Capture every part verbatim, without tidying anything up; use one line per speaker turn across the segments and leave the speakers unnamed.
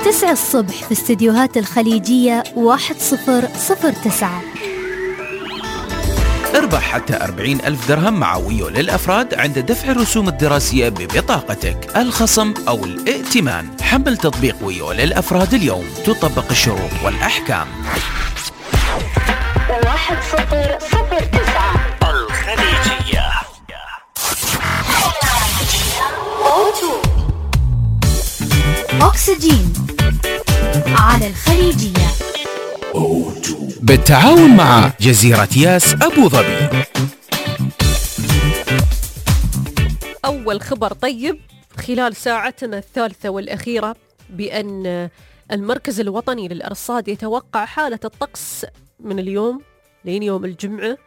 تسعة الصبح في استديوهات الخليجية واحد صفر صفر تسعة.
اربح حتى أربعين ألف درهم مع ويو للأفراد عند دفع الرسوم الدراسية ببطاقتك، الخصم أو الائتمان. حمل تطبيق ويو للأفراد اليوم، تطبق الشروط والأحكام.
واحد صفر صفر تسعة الخليجية.
أكسجين على الخليجية
بالتعاون مع جزيرة ياس أبو ظبي.
أول خبر طيب خلال ساعتنا الثالثة والأخيرة بأن المركز الوطني للأرصاد يتوقع حالة الطقس من اليوم لين يوم الجمعة،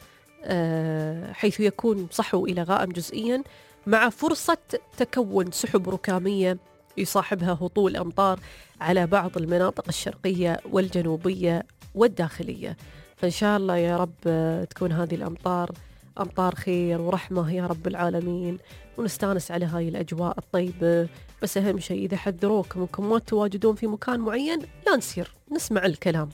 حيث يكون صحو إلى غائم جزئيا مع فرصة تكون سحب ركامية يصاحبها هطول أمطار على بعض المناطق الشرقية والجنوبية والداخلية. فإن شاء الله يا رب تكون هذه الأمطار أمطار خير ورحمة يا رب العالمين، ونستانس على هاي الأجواء الطيبة. بس أهم شيء إذا حذروكم أنكم ما تواجدون في مكان معين لا نصير نسمع الكلام،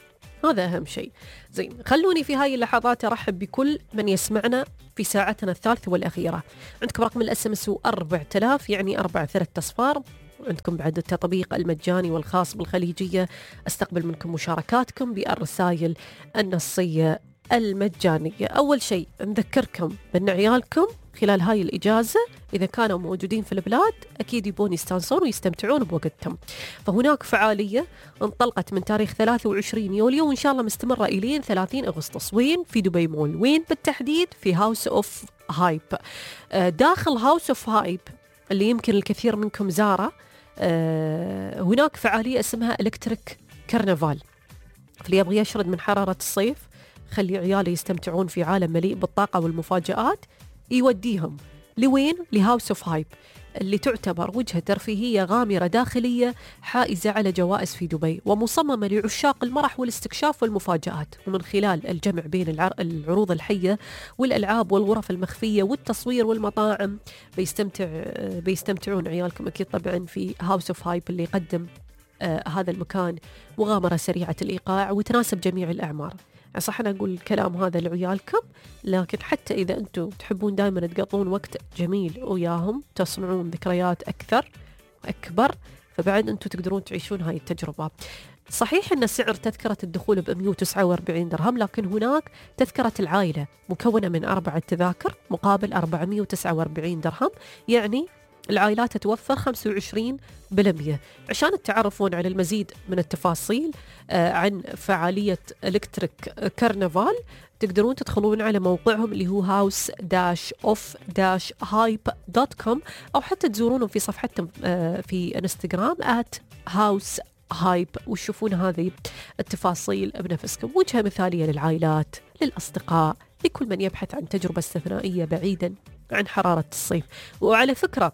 هذا أهم شيء. زين، خلوني في هاي اللحظات أرحب بكل من يسمعنا في ساعتنا الثالثة والأخيرة. عندكم رقم الأس ام اس أربعة آلاف يعني أربعة ثلاث أصفار. عندكم بعد التطبيق المجاني والخاص بالخليجية، استقبل منكم مشاركاتكم بالرسائل النصية المجانية. أول شيء نذكركم بأن عيالكم خلال هاي الإجازة إذا كانوا موجودين في البلاد أكيد يبون يستانسون ويستمتعون بوقتهم، فهناك فعالية انطلقت من تاريخ ثلاثة وعشرين يوليو وإن شاء الله مستمرة إلين ثلاثين أغسطس. وين؟ في دبي مول. وين بالتحديد؟ في هاوس أوف هايب. داخل هاوس أوف هايب اللي يمكن الكثير منكم زاره، هناك فعالية اسمها إلكتريك كرنفال. فاللي يبغى يشرد من حرارة الصيف خلي عيالي يستمتعون في عالم مليء بالطاقة والمفاجآت، يوديهم لوين؟ لهاوس اوف هايب اللي تعتبر وجهة ترفيهية غامرة داخلية حائزة على جوائز في دبي، ومصممة لعشاق المرح والاستكشاف والمفاجآت. ومن خلال الجمع بين العروض الحية والألعاب والغرف المخفية والتصوير والمطاعم بيستمتع بيستمتعون عيالكم أكيد طبعا في هاوس اوف هايب اللي يقدم آه هذا المكان مغامرة سريعة الإيقاع وتناسب جميع الأعمار. صح أنا أقول الكلام هذا لعيالكم، لكن حتى إذا أنتم تحبون دائما تقضون وقت جميل وياهم تصنعون ذكريات أكثر أكبر، فبعد أنتم تقدرون تعيشون هاي التجربة. صحيح أن سعر تذكرة الدخول ب مئة وتسعة وأربعين درهم، لكن هناك تذكرة العائلة مكونة من أربعة تذاكر مقابل أربعمئة وتسعة وأربعين درهم، يعني العائلات تتوفر خمسة وعشرين بالمئة. عشان تعرفون على المزيد من التفاصيل آه عن فعالية إلكتريك كرنفال تقدرون تدخلون على موقعهم اللي هو هاوس اوف هايب دوت كوم، أو حتى تزورونهم في صفحتهم آه في انستغرام آت هاوس هايب وتشوفون هذه التفاصيل بنفسكم. وجهة مثالية للعائلات، للأصدقاء، لكل من يبحث عن تجربة استثنائية بعيدا عن حرارة الصيف. وعلى فكرة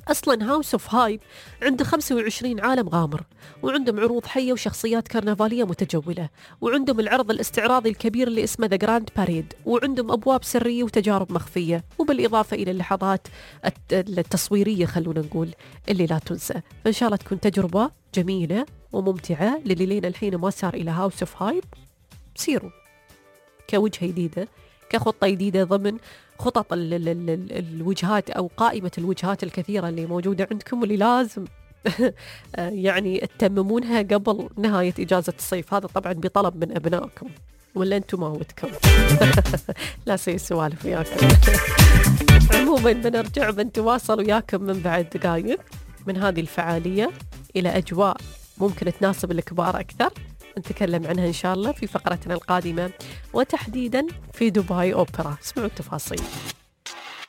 أصلاً هاوس أوف هايب عنده خمسة وعشرين عالم غامر، وعندهم عروض حية وشخصيات كرنفالية متجولة، وعندهم العرض الاستعراضي الكبير اللي اسمه ذا جراند باريد، وعندهم أبواب سرية وتجارب مخفية، وبالإضافة إلى اللحظات التصويرية خلونا نقول اللي لا تنسى. فإن شاء الله تكون تجربة جميلة وممتعة للي لين الحين ما صار إلى هاوس أوف هايب. سيروا كوجهة جديدة، كخطة جديدة ضمن خطط ال ال ال الوجهات أو قائمة الوجهات الكثيرة اللي موجودة عندكم واللي لازم يعني تتممونها قبل نهاية إجازة الصيف. هذا طبعا بطلب من أبنائكم، ولا أنتم ما ودكم لا سوي سوالف وياكم. عموما بنرجع بنتواصل وياكم من بعد دقائق من هذه الفعالية إلى أجواء ممكن تناسب الكبار أكثر، نتكلم عنها إن شاء الله في فقرتنا القادمة، وتحديدا في دبي أوبرا. اسمعوا التفاصيل.